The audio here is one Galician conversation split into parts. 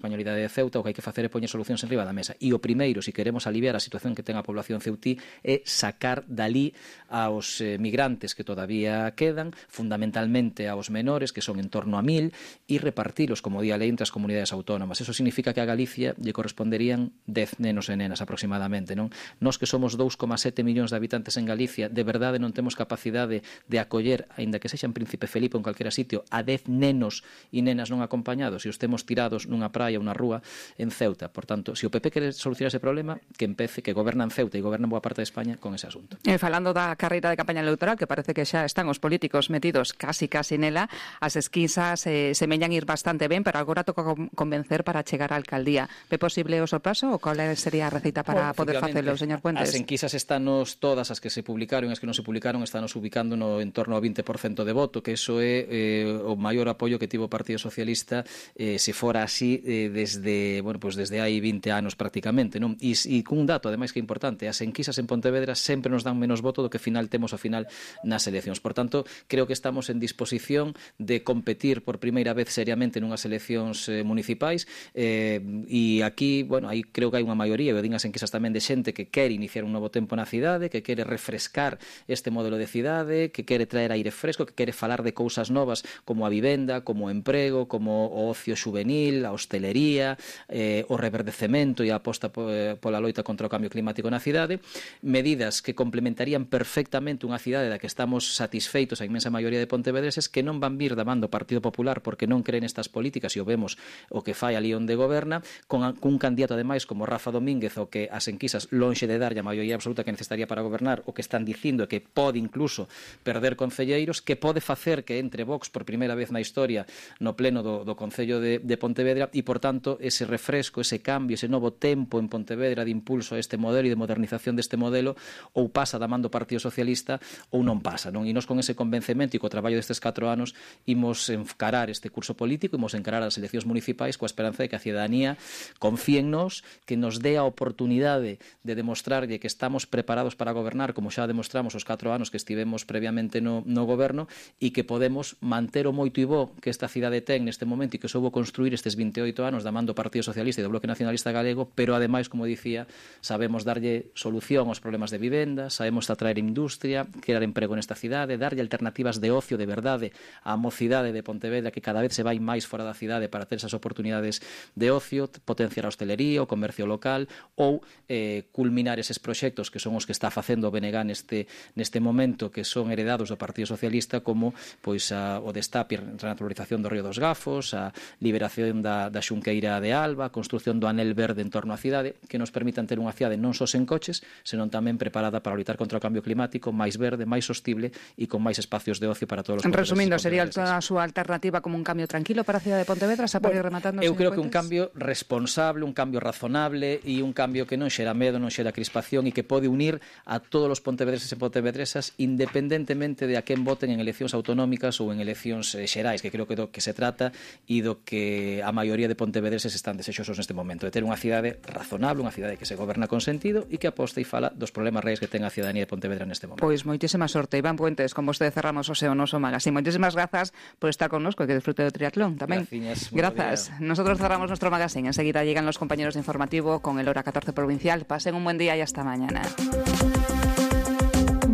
españolidade de Ceuta, o que hai que facer é poñer solucións enriba da mesa. E o primeiro, se queremos aliviar a situación que ten a población ceutí, é sacar dali aos migrantes que todavía quedan, fundamentalmente aos menores, que son en torno a 1000, e repartilos como día lei entre as comunidades autónomas. Eso significa que a Galicia lle corresponderían 10 nenos e nenas aproximadamente, non? Nós que somos 2,7 millóns de habitantes en Galicia, de verdade non temos capacidade de acoller, aínda que sexa en Príncipe Felipe ou en calquera sitio, a 10 nenos e nenas non acompañados, e os temos tirados nunha praia, unha rúa en Ceuta. Por tanto, se o PP quere solucionar ese problema, que empece, que goberna en Ceuta e goberna en boa parte de España con ese asunto. Falando da carreira de campaña electoral, que parece que xa están os políticos metidos casi nela, as esquisas semellan ir bastante ben, pero agora toca convencer para chegar á alcaldía. Ve posible o sorpaso ou cal sería a receita para poder facelo, señor Puentes? As enquisas estanos todas, as que se publicaron e as que non se publicaron, estanos ubicando no entorno ao 20% de voto, que iso é o maior apoio que tivo o Partido Socialista se fora así desde hai 20 anos prácticamente, non? E cun dato, ademais, que é importante, as enquisas en Pontevedra sempre nos dan menos voto do que temos ao final nas eleccións. Por tanto, creo que estamos en disposición de competir por primeira vez seriamente nunhas eleccións municipais e aquí, aí creo que hai unha maioría, eu din as enquisas tamén, de xente que quere iniciar un novo tempo na cidade, que quere refrescar este modelo de cidade, que quere traer aire fresco, que quere falar de cousas novas como a vivenda, como o emprego, como o ocio xuvenil, a hostelería, o reverdecemento e a aposta pola loita contra o cambio climático na cidade, medidas que complementarían perfectamente unha cidade da que estamos satisfeitos a inmensa maioría de pontevedreses, que non van vir da man do Partido Popular porque non creen estas políticas, e o vemos o que fai ali onde goberna, cun candidato ademais como Rafa Domínguez, o que as enquisas lonxe de dar a maioría absoluta que necesitaría para gobernar, o que están dicindo que pode incluso perder concelleiros, que pode facer que entre Vox por primeira vez na historia no pleno do Concello de Pontevedra, e por tanto ese refresco, ese cambio, ese novo tempo en Pontevedra de impulso a este modelo e de modernización deste modelo, ou pasa da man do Partido Socialista ou non pasa, non? E nós con ese convencemento e co traballo destes 4 anos imos encarar este curso político, imos encarar as eleccións municipais coa esperanza de que a cidadanía confíe en nós, que nos dé a oportunidade de demostrarlle que estamos preparados para gobernar, como xa demostramos os 4 anos que estivemos previamente no goberno, e que podemos manter o moito e bo que esta cidade ten neste momento e que soubo construir estes 28 anos da man do Partido Socialista e do Bloque Nacionalista Galego, pero ademais, como dicía, sabemos darlle solución aos problemas de vivenda, sabemos atraer industria, crear emprego nesta cidade, darlle alternativas de ocio de verdade á mocidade de Pontevedra, que cada vez se vai máis fora da cidade para ter esas oportunidades de ocio, potenciar a hostelería, o comercio local, ou culminar eses proxectos que son os que está facendo o BNG neste momento, que son heredados do Partido Socialista, como o destape e renaturalización do Río dos Gafos, a liberación da Xunqueira de Alba, a construción do anel verde en torno á cidade, que nos permitan ter unha cidade non só sen coches, senón tamén preparada para loitar contra o cambio climático, máis verde, máis sostible e con máis espacios de ocio para todos os pontevedreses. Resumindo, sería toda a súa alternativa como un cambio tranquilo para a cidade de Pontevedra, xa para ir rematando. Eu creo que un cambio responsable, un cambio razonable e un cambio que non xera medo, non xera crispación e que pode unir a todos os pontevedreses e pontevedresas independentemente de a quen voten en eleccións autonómicas ou en eleccións xerais, que creo que do que se trata e do que a maioría de pontevedreses están desexosos neste momento, de ter unha cidade razonable, unha cidade que se goberna con sentido e que aposta e fala dos problemas reais que ten a cidadanía de Pontevedra neste momento. Pois moitísima sorte. Iván Puentes, con vostede cerramos o seu noso magazine. Moitísimas grazas por estar connosco e que disfrute do triatlón tamén. Grazas. Nosotros cerramos nuestro magazine. Enseguida llegan los compañeros de informativo con el Hora 14 Provincial. Pasen un buen día y hasta mañana.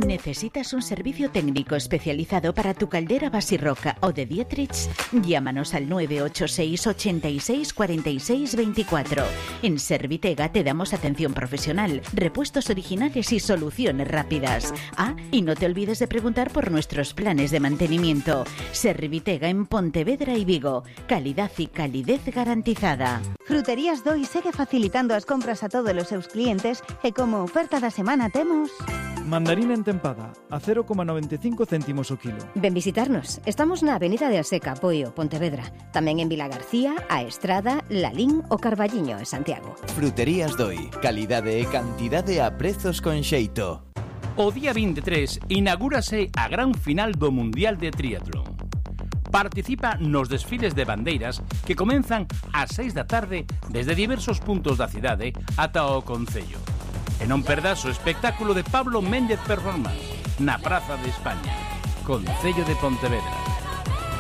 ¿Necesitas un servicio técnico especializado para tu caldera Basirroca o de Dietrich? Llámanos al 986 86 46 24. En Servitega te damos atención profesional, repuestos originales y soluciones rápidas. Y no te olvides de preguntar por nuestros planes de mantenimiento. Servitega en Pontevedra y Vigo. Calidad y calidez garantizada. Fruterías Doi segue facilitando as compras a todos os seus clientes e como oferta da semana temos... Mandarina entempada, a 0,95 céntimos o kilo. Ven visitarnos. Estamos na Avenida de Aseca, Poio, Pontevedra. Tamén en Vila García, A Estrada, Lalín ou Carballiño, en Santiago. Fruterías Doi. Calidade e cantidade a prezos con xeito. O día 23 inaugúrase a gran final do Mundial de Triatlón. Participa nos desfiles de bandeiras que comenzan ás 6 da tarde desde diversos puntos da cidade ata o Concello. E non perdas o espectáculo de Pablo Méndez Performance na Praza de España, Concello de Pontevedra.